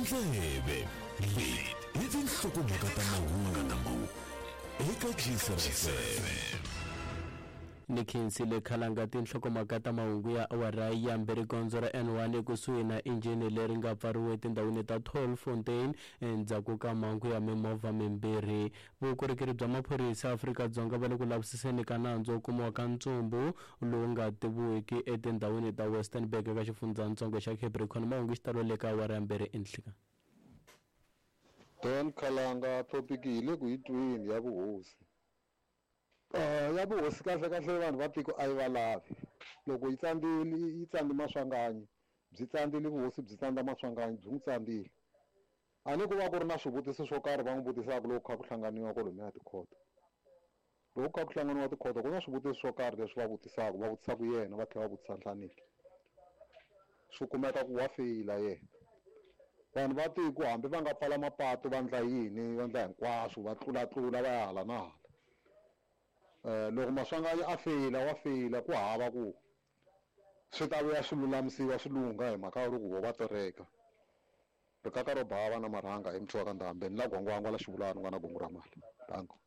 Ndleve leti i tinhlokomhaka ta mahungu eka Gcr FM. Ni khensile khalanga tinhlokomhaka ta mahungu ya awara ya mbirhi. Gondzo ra N1 ekusuhi na injhini leri nga pfariwa etindhawini ta Tolfontein endzhaku ka mhangu ya mimovha mimbirhi. Vukorhokeri bya maphorisa Afrika-Dzonga va le ku lavisiseni ka nandzu wo kumiwa ka ntsumbu lowu nga tiviwiki etindhawini ta Westernburg eka xifundzatsongo xa Capricorn. Mahungu xitalo le ka awara ya mbirhi enhlekani. Don Khalanga topic hi le ku yi tweni ya vuhosi. Ya vuhosi kahle kahle vanhu va tiko a yi va lavi. Loko yi tsandzile yi tsandzi Maswanganyi, byi tsandzile vuhosi byi tsandza Maswanganyi byi n'wi tsandzile. A ni ku va ku ri na swivutiso swo karhi va n'wi vutisaka loko kha ku hlanganiwa kwalomuya tikhoto. Loko kha ku hlanganiwa tikhoto ku na swivutiso swo karhi leswi va vutisaka, va vutisaka yena va tlhela va vutisa Nhlaniki. Swi kumeka ku wa feyila yena. Vanhu va tiko hambi va nga pfala mapatu va endla yini va endla hinkwaswo va tlulatlula va ya hala na hala. Loko Maswanganyi a feyila wa feyila ku hava ku swi ta vuya swi lulamisiwa swi lungha hi mhaka ya loko vo va tereka. Rikaka ro bava na marhanga hi muthu wa ka Ndhambe ni la gwangwangwa la xivulani u nga na gungu ra mali. Danko.